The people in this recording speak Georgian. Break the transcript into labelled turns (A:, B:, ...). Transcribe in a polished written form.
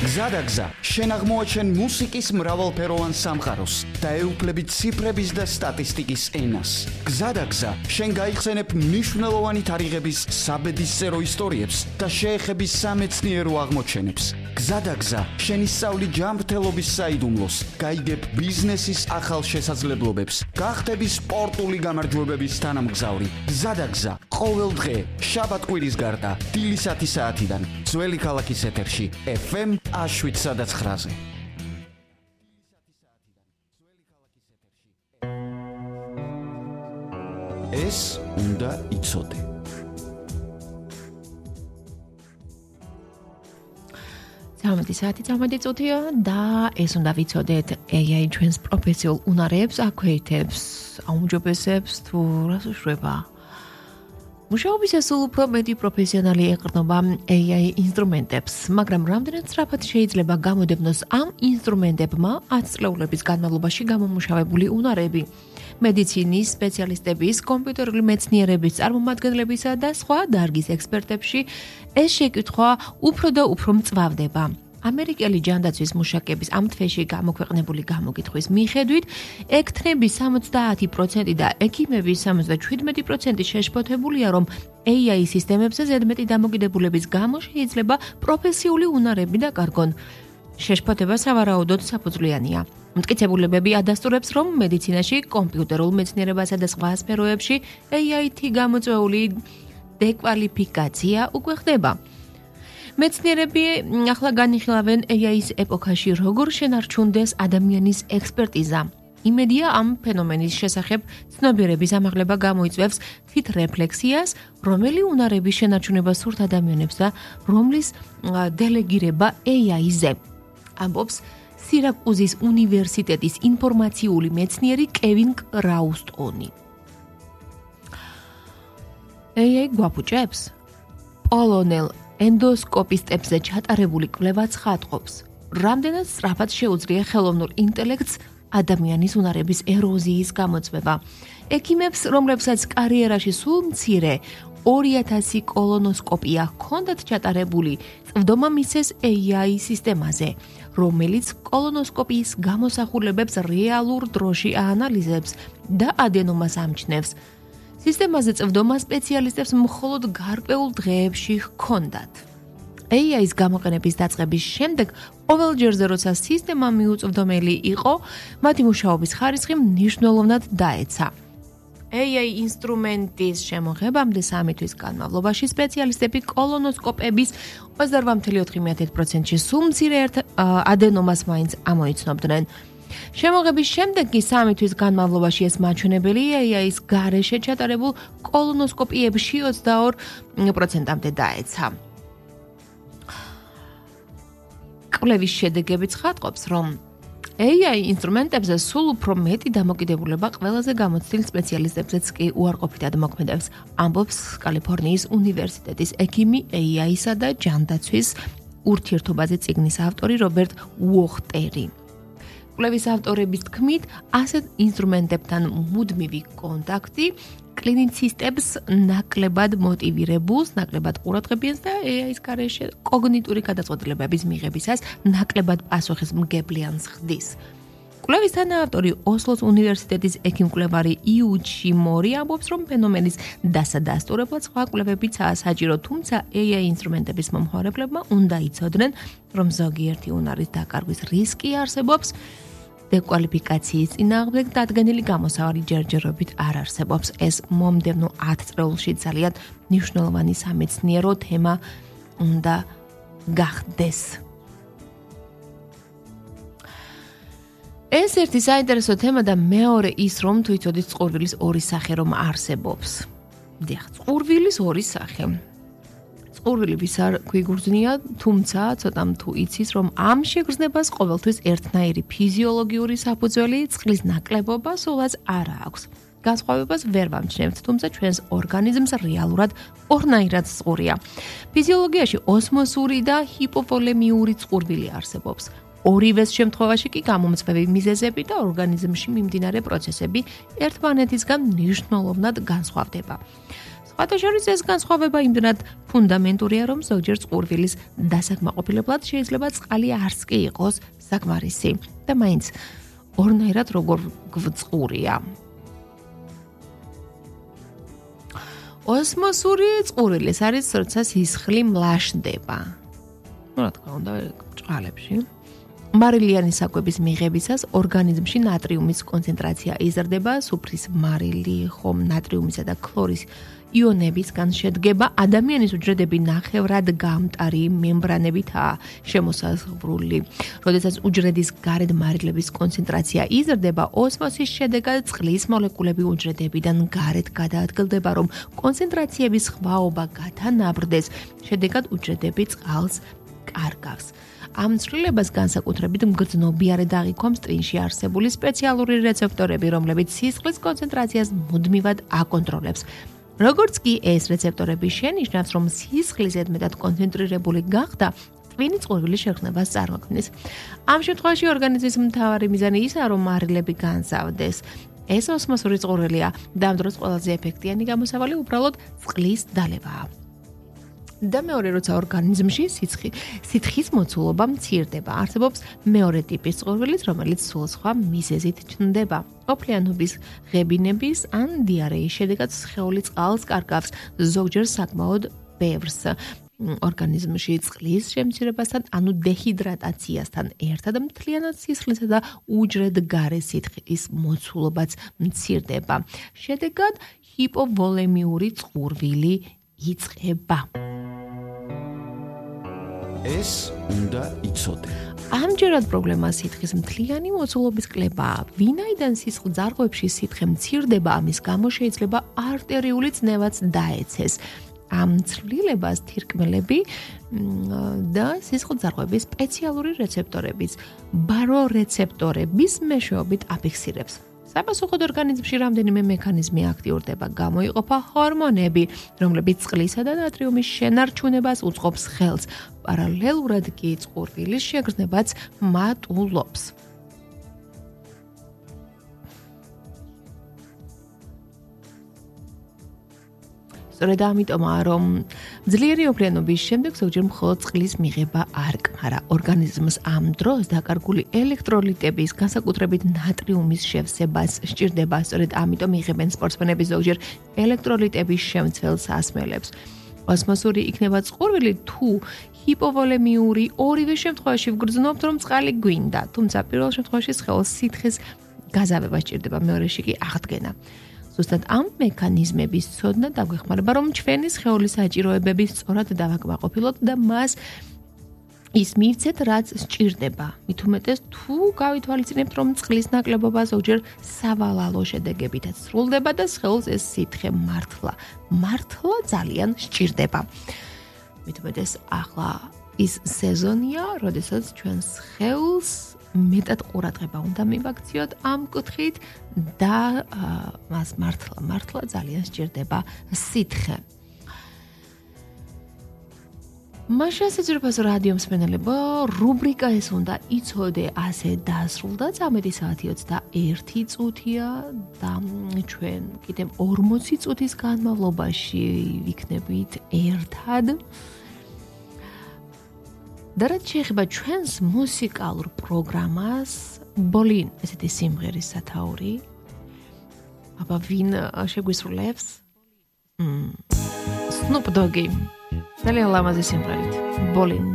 A: გზადაგზა, შენ აღმოაჩენ მუსიკის მრავალფეროვან სამყაროს და ეუფლები ციფრების და სტატისტიკის ენას. გზადაგზა, შენ გაიხსენებ მნიშვნელოვანი თარიღების საბედისწერო ისტორიებს და შეეხები სამეცნიერო აღმოჩენებს. გზადაგზა, შენ ისწავლი ჯანმრთელობის საიდუმლოს, გაიგებ ბიზნესის ახალ შესაძლებლობებს, გახდები სპორტული გამარჯვებების თანამგზავრი. გზადაგზა, ყოველ დღე, შაბათ-კვირის გარდა, დილის 10 საათიდან, ძველი ქალაქის ეთერში, FM 7-9-ზე. ეს უნდა იცოდე.
B: საათი წუთია და ეს უნდა ვიცოდეთ AI ჩვენს პროფესიულ უნარებს აქვეითებს, აუმჯობესებს თუ რას უშვება. მუშაობისას სულ უფრო მეტი პროფესიონალი ეყრდნობა AI ინსტრუმენტებს, მაგრამ რამდენად სწრაფად შეიძლება გამოდევნოს ამ ინსტრუმენტებმა 10 წლეულების განმავლობაში გამომუშავებული უნარები. მედიცინის სპეციალისტების, კომპიუტერული მეცნიერების წარმომადგენლებისა და სხვა დარგის ექსპერტებში ეს შეკითხვა უფრო და უფრო მწვავდება. ამერიკელი ჯანდაცვის მუშაკების ამ თვეში გამოქვეყნებული გამოკითხვის მიხედვით, ექთნების 70% და ექიმების 77% შეშფოთებულია, რომ AI სისტემებზე ზედმეტი დამოკიდებულების გამო შეიძლება პროფესიული უნარები დაკარგონ. შეშფოთება სავარაუდოდ საფუძვლიანია. მტკიცებულებები ადასტურებს, რომ მედიცინაში, კომპიუტერულ მეცნიერებასა და სხვა სფეროებში AI-ით გამოწვეული დეკვალიფიკაცია უკვე ხდება. მეცნიერები ახლა განიხილავენ AI-ის ეპოქაში როგორ შენარჩუნდეს ადამიანის ექსპერტიზა. იმედია ამ ფენომენის შესახებ ცნობიერების ამაღლება გამოიწვევს თვითრეფლექსიას, რომელი უნარების შენარჩუნება სურთ ადამიანებს და რომლის დელეგირება AI-ზე. ამბობს სირაკუზის უნივერსიტეტის ინფორმაციული მეცნიერი კევინ კრაუსტონი. AI გვაფუჭებს? პოლონელ ენდოსკოპისტებზე ჩატარებული კვლევა ცხადყოფს, რამდენად სწრაფად შეუძლია ხელოვნურ ინტელექტს ადამიანის უნარების ეროზიის გამოწვევა. ექიმებს, რომლებსაც კარიერაში სულ მცირე 2000 კოლონოსკოპია ჰქონდათ ჩატარებული, წვდომა მისცეს AI სისტემაზე, რომელიც კოლონოსკოპიის გამოსახულებებს რეალურ დროში აანალიზებს და ადენომას ამჩნევს. სისტემაზე წვდომა სპეციალისტებს მხოლოდ გარკვეულ დღეებში ჰქონდათ. AI-ის გამოყენების დაწყების შემდეგ, ყოველ ჯერზე, როცა სისტემა მიუწვდომელი იყო, მათი მუშაობის ხარისხი მნიშვნელოვნად დაეცა. AI ინსტრუმენტის შემოღებამდე 3 თვის განმავლობაში სპეციალისტები კოლონოსკოპების 28.4%-ში სულ მცირე ადენომას მაინც ამოიცნობდნენ. შემოღების შემდეგ კი 3 თვის განმავლობაში ეს მაჩვენებელი AI-ის გარეშე ჩატარებულ კოლონოსკოპიებში 22%-მდე დაეცა. კვლევის შედეგები ცხადყოფს, რომ AI ინსტრუმენტებზე სულ უფრო მეტი დამოკიდებულება ყველაზე გამოცდილ სპეციალისტებზეც კი უარყოფითად მოქმედებს, ამბობს კალიფორნიის უნივერსიტეტის ექიმი AI-სა და ჯანდაცვის ურთიერთობაზე წიგნის ავტორი რობერტ უოხტერი. კვლევის ავტორების თქმით, ასეთ ინსტრუმენტებთან მუდმივი კონტაქტი კლინიცისტებს ნაკლებად მოტივირებულს, ნაკლებად ყურადღებიანს და AI-ის გარეშე კოგნიტური გადაწყვეტილებების მიღებისას ნაკლებად პასუხისმგებლიანს ხდის. კვლევის თანაავტორი ოსლოს უნივერსიტეტის ექიმ-კვლევარი იუჩი მორი ამბობს, რომ ფენომენის დასადასტურებლად სხვა კვლევებიცაა საჭირო, თუმცა AI ინსტრუმენტების მომხმარებლებმა უნდა იცოდნენ, რომ ზოგიერთი უნარის დაკარგვის რისკი არსებობს, დეკვალიფიკაციის წინააღმდეგ დადგენილი გამოსავალი ჯერჯერობით არ არსებობს. ეს მომდევნო 10 წლეულში ძალიან მნიშვნელოვანი სამეცნიერო თემა უნდა გახდეს. ეს ერთი საინტერესო თემა და მეორე ის, რომ თუ იცოდით წყურვილის ორი სახე რომ არსებობს. დიახ, წყურვილის ორი სახე. წყურვილი ვის არ გვიგრძნია, თუმცა ცოტამ თუ იცის, რომ ამ შეგრძნებას ყოველთვის ერთნაირი ფიზიოლოგიური საფუძველი, წყლის ნაკლებობა სულაც არ აქვს. განსხვავებას ვერ ვამჩნევთ, თუმცა ჩვენს ორგანიზმს რეალურად ორნაირად წყურია. ფიზიოლოგიაში ოსმოსური და ჰიპოვოლემიური წყურვილი არსებობს. ორივეს შემთხვევაში კი გამომწვევი მიზეზები და ორგანიზმში მიმდინარე პროცესები ერთმანეთისგან მნიშვნელოვნად განსხვავდება. სხვათა შორის ეს განსხვავება იმდენად ფუნდამენტურია, რომ ზოგჯერ წყურვილის დასაკმაყოფილებლად შეიძლება წყალი არც კი იყოს საკმარისი და მაინც ორნაირად როგორ გვწყურია. ოსმოსური წყურვილის არის, როცა სისხლი მლაშდება. რა თქმა უნდა, ჭყალებში. მარილიანი საკვების მიღებისას ორგანიზმში ნატრიუმის კონცენტრაცია იზრდება, სუფრის მარილი, ხომ ნატრიუმისა და ქლორის იონებისგან შედგება, ადამიანის უჯრედები ნახევრად გამტარი მემბრანებითაა შემოსაზღვრული. როდესაც უჯრედის გარეთ მარილების კონცენტრაცია იზრდება, ოსმოსის შედეგად წყლის მოლეკულები უჯრედებიდან გარეთ გადაადგილდება, რომ კონცენტრაციების ხვაობა გათანაბრდეს, შედეგად უჯრედები წყალს კარგავს. ამ ცვლილებას განსაკუთრებით მგრძნობიარე დაღიქვამს ტვინში არსებული სპეციალური რეცეპტორები, რომლებიც სისხლის კონცენტრაციას მუდმივად აკონტროლებს. როგორც კი ეს რეცეპტორები შენიშნავს, რომ სისხლი ზედმეტად კონცენტრირებული გახდა, ტვინი წყურვილის შეგრძნებას წარმოქმნის. ამ შემთხვევაში ორგანიზმის მთავარი მიზანი ისაა, რომ მარილები განსავდეს. ეს ოსმოსური წყურვილია და ამ დროს ყველაზე ეფექტიანი გამოსავალი უბრალოდ წყლის დალევაა. და მეორე, როცა ორგანიზმში სითხის მოცულობა მცირდება, არსებობს მეორე ტიპის წყურვილიც, რომელიც სულ სხვა მიზეზით ჩნდება. ოფლიანობის, ღებინების ან დიარეის შედეგად სხეული წყალს კარგავს, ზოგჯერ საკმაოდ ბევრს. ორგანიზმში წყლის შემცირებასთან, ანუ დეჰიდრატაციასთან ერთად მთლიანად სისხლისა და უჯრედგარე სითხის მოცულობაც მცირდება. შედეგად ჰიპოვოლემიური წყურვილი იწყება.
A: ეს უნდა იცოდე.
B: ამჯერად პრობლემა სითხის მთლიანი მოცულობის კლებაა. ვინაიდან სისხლძარღვებში სითხე მცირდება, ამის გამო შეიძლება არტერიული წნევაც დაეცეს. ამ ცვლილებას თირკმელები და სისხლძარღვების სპეციალური რეცეპტორების, ბარორეცეპტორების მეშვეობით აფიქსირებს. საპასუხოდ ორგანიზმში რამდენიმე მექანიზმი აქტიურდება, გამოიყოფა ჰორმონები, რომლებიც წყლისა და ნატრიუმის შენარჩუნებას უწყობს ხელს. პარალელურად კი წყურვილის შეგრძნებაც მატულობს. სწორედ ამიტომაა, რომ ძლიერი ოფლიანობის შემდეგ ზოგჯერ მხოლოდ წყლის მიღება არ კმარა. ორგანიზმს ამ დროს დაკარგული ელექტროლიტების, განსაკუთრებით ნატრიუმის შევსებას სჭირდება. სწორედ ამიტომ იღებენ სპორტსმენები ზოგჯერ ელექტროლიტების შემცველ სასმელებს. ოსმოსური იქნება წყურვილი თუ ჰიპოვოლემიური, ორივე შემთხვევაში ვგრძნობთ, რომ წყალი გვინდა, თუმცა პირველ შემთხვევაში სხეულს სითხის გაზავება სჭირდება, მეორეში კი აღდგენა. ზუსტად ამ მექანიზმების ცოდნა დაგვეხმარება, რომ ჩვენი სხეულის საჭიროებები სწორად დავაკმაყოფილოთ და მას ის მივცეთ, რაც სჭირდება. მით უმეტეს თუ გავითვალისწინებთ, რომ წყლის ნაკლებობა ზოგჯერ სავალალო შედეგებითაც სრულდება და სხეულს ეს სითხე მართლა ძალიან სჭირდება. მით უმეტეს ახლა ის სეზონია, როდესაც ჩვენ სხეულს მეტად ყურადღება უნდა მივაქციოთ ამ კუთხით და მას მართლა ძალიან სჭირდება სითხე. მაშინ შეძრებას რადიო მსმენელებო, რუბრიკა ეს უნდა იცოდე ასე დასრულდა. 13 საათი 21 წუთია და ჩვენ კიდევ 40 წუთის განმავლობაში ვიქნებით ერთად. და რაც შეეხება ჩვენს მუსიკალურ პროგრამას, ბოლინ ესეთი სიმღერის სათაური. აბა ვინ შეგვისრულებს? Snoop Dogg. ძალიან ლამაზი სიმღერით. ბოლინ.